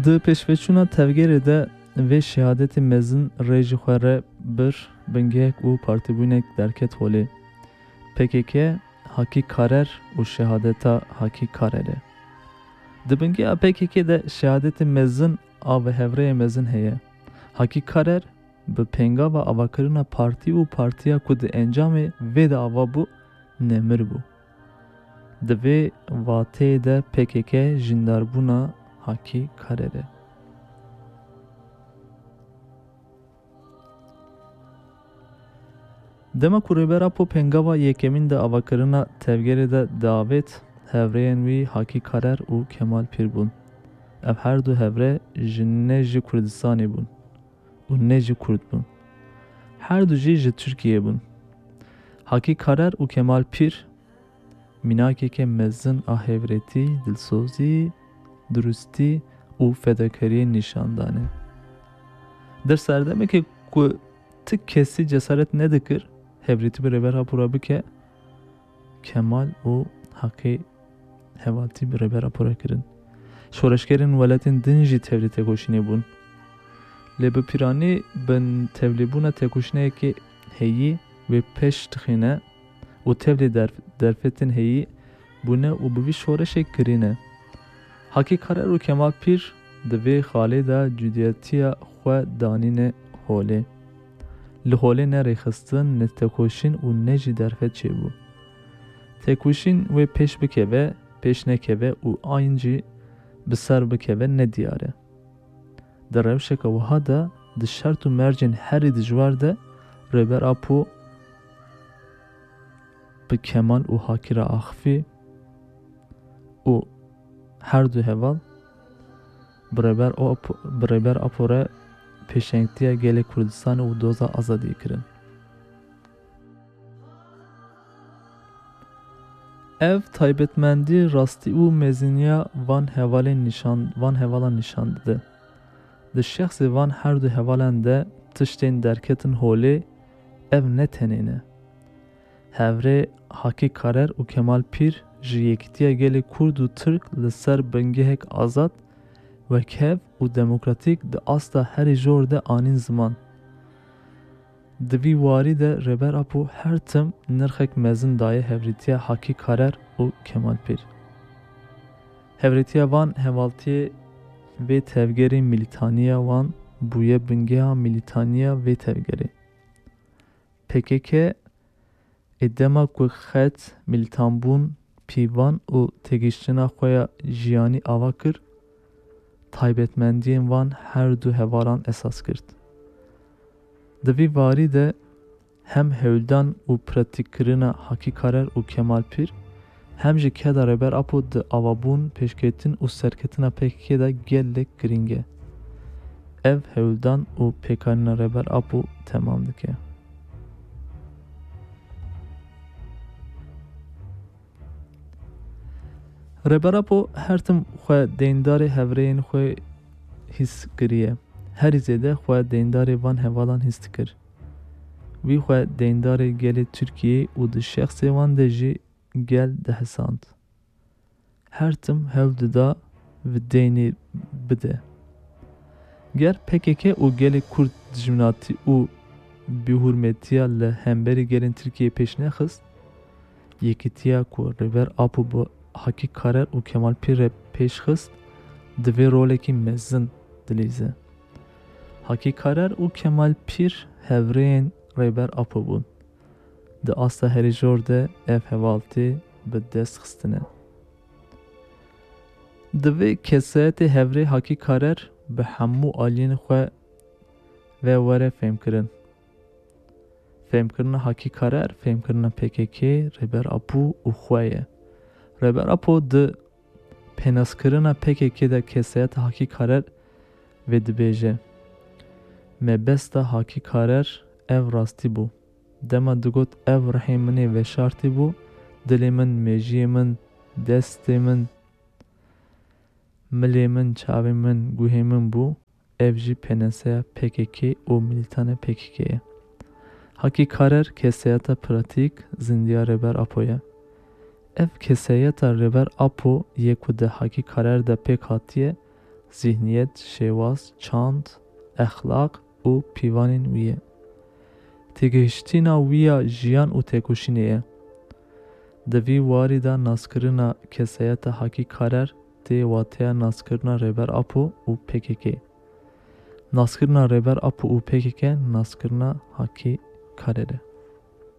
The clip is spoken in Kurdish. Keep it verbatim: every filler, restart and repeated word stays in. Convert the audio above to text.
Di pêşveçûna tevgerê de vê şehadetê mezin rê ji xwe re bir, bingehek û partîbûnek derket holê. P K K, Hakî Karer û şehadeta Hakî Karerê. Di bingeha P K K de şehadetê mezin a bi hevrêyê mezin heye. Hakî Karer bi pêngava avakirina partî û partiya ku di encamê vê de ava bû, nemir bû. Di vê vateyê de P K K jîndarbûna Hakî Karerê. Dema ku Rêber Apo pêngava yekemîn de avakirina tevgerê de diavêt, hevrêyên wî Hakî Karer û Kemal Pîr bûn. Ev her du hevre ji ne ji Kurdistanê bûn û ne jî Kurd bûn. Her du jî ji Tirkiyeyê bûn. Hakî Karer û Kemal Pîr mînakeke mezin a hevretî, dilsozî, durustî û fedakariyê nîşan dane. Di serdemekê ku ti kesî cesaret nedikir hevretî bi Rêber Apo re bike, Kemal û Hakî hevaltî bi Rêber Apo re kirin. Şoreşgerên welatên din jî tevlî tekoşînê bûn. Lê bi pîranî bin tevlîbûna tekoşîneyekê heyî wê pêş dixîne û tevlî derf-, derfetên heyî bûne û bi vî şoreşê kirîne. Hakî Karer û Kemal Pîr di vê xalê de cudiyetiya xwe danîne holê. Li holê ne rêxistin, ne tekoşîn û ne jî derfet çêbû. Tekoşîn wê pêş bikeve, pêş nekeve û ayin jî bi ser bikeve ne diyar e. Di rewşeke wiha de, di şert û mercên herî dijwar de Rêber Apo bi Kemal û Hakî re axifî û her du heval bi Rêber Apo, bi Rêber Apo re pêşengtiya gelê Kurdistanê û doza azadiyê kirin. Ev taybetmendî rastî û meziniya van hevalên nîşan, van hevalan nîşan dide. Di şexsê van her du hevalan de tiştên derketin holê, ev ne tenê ne. Hevrê Hakî Karer û Kemal Pîr ji yekîtiya gelê Kurd û Tirk li ser bingehek azad, wekhev û demokratîk di asta herî jor de anîn ziman. Di vî warî de Rêber Apo her tim nirxek mezin daye hevrêtiya Hakî Karer û Kemal Pîr. Hevrêtiya van hevaltiyê vê tevgerê, mîlîtaniya wan bûye bingeha mîlîtaniya vê tevgerê. P K K ê dema ku xet, mîlîtanbûn, pîvan û têgihiştina xwe ya jiyanî ava kir, taybetmendiyên van her du hevalan esas girt. Di vî warî de hem hewldan û pratîkkirina Hakî Karer û Kemal Pîr, hem jî keda Rêber Apo di avabûn, pêşketin û serketina P K K de gelek girîng e. Ev hewldan û pêkanîna Rêber Apo temam dike. Rêber Apo her tim xwe deyndarê hevrêyên xwe hîs kiriye. Herî zêde xwe deyndarê van hevalan hîs dikir. Wî xwe deyndarê gelê Tirkiyeyê û di şexsê wan de jî gel dihesand. Her tim hewl dida vê deynê bide. Ger P K K û gelê Kurd dijminatî û bêhurmetiya li hemberî gelên Tirkiyeyê pêş nexist, yekîtiya ku Rêber Apo bi Hakî Karer û Kemal Pîr re pêş xist, divê rolekî mezin dilîze. Hakî Karer û Kemal Pîr hevrêyên Rêber Apo bûn. Di asta herî jor de ev hevaltî bi dest xistine. Divê kesayetê hevrê Hakî Karer bi hemû aliyên xwe ve were fêmkirin. Fêmkirina Hakî Karer, fêmkirina P K K, Rêber Apo û xwe ye. Rêber Apo di pênaskirina P K K de kesayeta Hakî Karer vê dibêje: Mebesta Hakî Karer ev rastî bû. Dema digot, ev rihê min ê veşartî bû, dilê min, mejiyê min, destê min, milê min, çavê min, guhê min bû, ev jî pênaseya P K K û milîtana P K K ye. Hakî Karer kesayeta pratîk, zindiya Rêber Apo ye. Ev kesayeta Rêber Apo yê ku di Hakî Karer de pêk hatiye, zîhniyet, şêwaz, çand, exlaq û pîvanên wî ye. Têgihiştina wî ya jiyan û têkoşînê ye. Di vî warî de naskirina kesayeta Hakî Karer tê wateya naskirina Rêber Apo û P K K. Naskirina Rêber Apo û P K K naskirina Hakî Karer e.